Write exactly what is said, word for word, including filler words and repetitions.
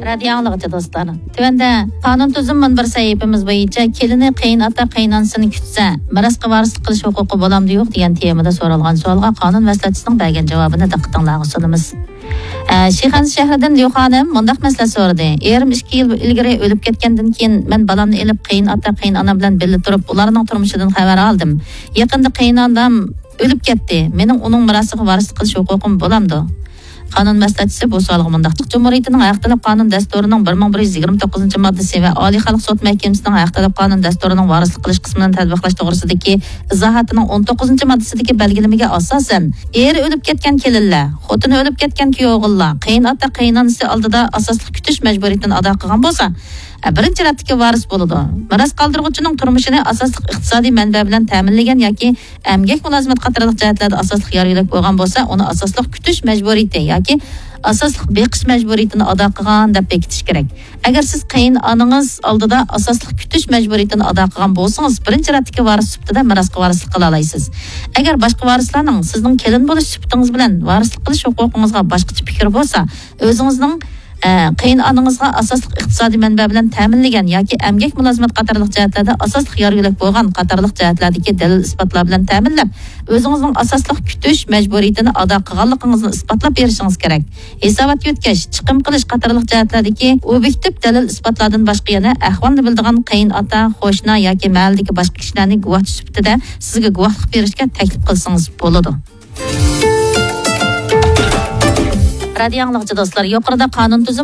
رادىيو ئاڭلىغۇچى دوستلار، تۆۋەندە قانۇن تۈزۈم مۇنبىرى سەھىپىمىز بويىچە كېلىنى قېيىنئاتا قېيىنئانىسىنى كۈتسە، مىراسقا ۋارىسلىق قىلىش ھوقۇقى بولامدۇ يوق دېگەن تېمىدا سورالغان سوئالغا قانۇن مەسلىھەتچىسىنىڭ بەرگەن جاۋابىنى دىققىتىڭلارغا سۇنىمىز. ئە، شىخەنزە شەھىرىدىن ليۇ خانىم مۇنداق مەسىلە سورىدى. ئېرىم ئىككى يىل ئىلگىرى ئۆلۈپ كەتكەندىن كېيىن، مەن بالامنى ئېلىپ قېيىنئاتا قېيىنئانام بىلەن بىللە تۇرۇپ، ئۇلارنىڭ تۇرمۇشىدىن خەۋەر ئالدىم. يېقىندا قېيىنئانام ئۆلۈپ كەتتى. مېنىڭ ئۇنىڭ مىراسىغا ۋارىسلىق قىلىش ھوقۇقۇم بولامدۇ؟ قانۇن مەسلىھەتچىسى بۇ سوئالغا مۇنداق: جۇمھۇرىيىتىنىڭ ھەق تەلەپ قانۇن دەستۇرىنىڭ بىر مىڭ بىر يۈز يىگىرمە توققۇزىنچى ماددىسى ۋە ئالىي خەلق سوت مەھكىمىسىنىڭ ھەق تەلەپ قانۇن دەستۇرىنىڭ ۋارىسلىق قىلىش قىسمىنى تەتبىقلاش توغرىسىدىكى ئىزاھاتىنىڭ ئون توققۇزىنچى ماددىسىدىكى بەلگىلىمىگە ئاساسەن، ئېرى ئۆلۈپ كەتكەن كېلىنلەر، خوتۇنى ئۆلۈپ كەتكەن كۈيئوغۇللار قېيىنئاتا قېيىنئانىسى ئالدىدا ئاساسلىق كۈتۈش مەجبۇرىيىتىنى ئادا قىلغان بولسا، بىرىنچى رەتتىكى ۋارىس بولىدۇ. مىراس قالدۇرغۇچىنىڭ تۇرمۇشىنى ئاساسلىق ئىقتىسادىي مەنبە بىلەن تەمىنلىگەن ياكى ئەمگەك مۇلازىمەت قاتارلىق جەھەتلەردە ئاساسلىق يار يۆلەك بولغان بولسا، ئۇنى ئاساسلىق كۈتۈش مەجبۇرىيىتى ياكى ئاساسلىق بېقىش مەجبۇرىيىتىنى ئادا قىلغان دەپ بېكىتىش كېرەك. ئەگەر سىز قېيىنئانىڭىز ئالدىدا ئاساسلىق كۈتۈش مەجبۇرىيىتىنى ئادا قىلغان بولسىڭىز، بىرىنچى رەتتىكى ۋارىس سۈپىتىدە مىراسقا ۋارىسلىق قىلالايسىز. ئەگەر باشقا ۋارىسلارنىڭ سىزنىڭ كېلىن بولۇش سۈپىتىڭىز بىلەن ۋارىسلىق قىلىش ھوقۇقىڭىزغا باشقىچە پىكىر بولسا، ئۆزىڭىزنىڭ، ئە، قېيىنئانىڭىزغا ئاساسلىق ئىقتىسادىي مەنبە بىلەن تەمىنلىگەن ياكى ئەمگەك مۇلازىمەت قاتارلىق جەھەتلەردە ئاساسلىق يار يۆلەك بولغان قاتارلىق جەھەتلەردىكى دەلىل ئىسپاتلار بىلەن تەمىنلەپ، ئۆزىڭىزنىڭ ئاساسلىق كۈتۈش مەجبۇرىيىتىنى ئادا قىلغانلىقىڭىزنى ئىسپاتلاپ بېرىشىڭىز كېرەك. ھېسابات يۆتكەش، چىقىم قىلىش قاتارلىق جەھەتلەردىكى ئوبيېكتىپ دەلىل ئىسپاتلاردىن باشقا يەنە ئەھۋالنى بىلىدىغان قېيىنئاتا، قوشنا ياكى مەھەللىدىكى باشقا كىشىلەرنى گۇۋاھچى سۈپىتىدە سىزگە گۇۋاھلىق بېرىشكە تەكلىپ قىلسىڭىز بولىدۇ. رادىيو ئاڭلىغۇچى دوستلار، يۇقىرىدا قانۇن تۈزۈم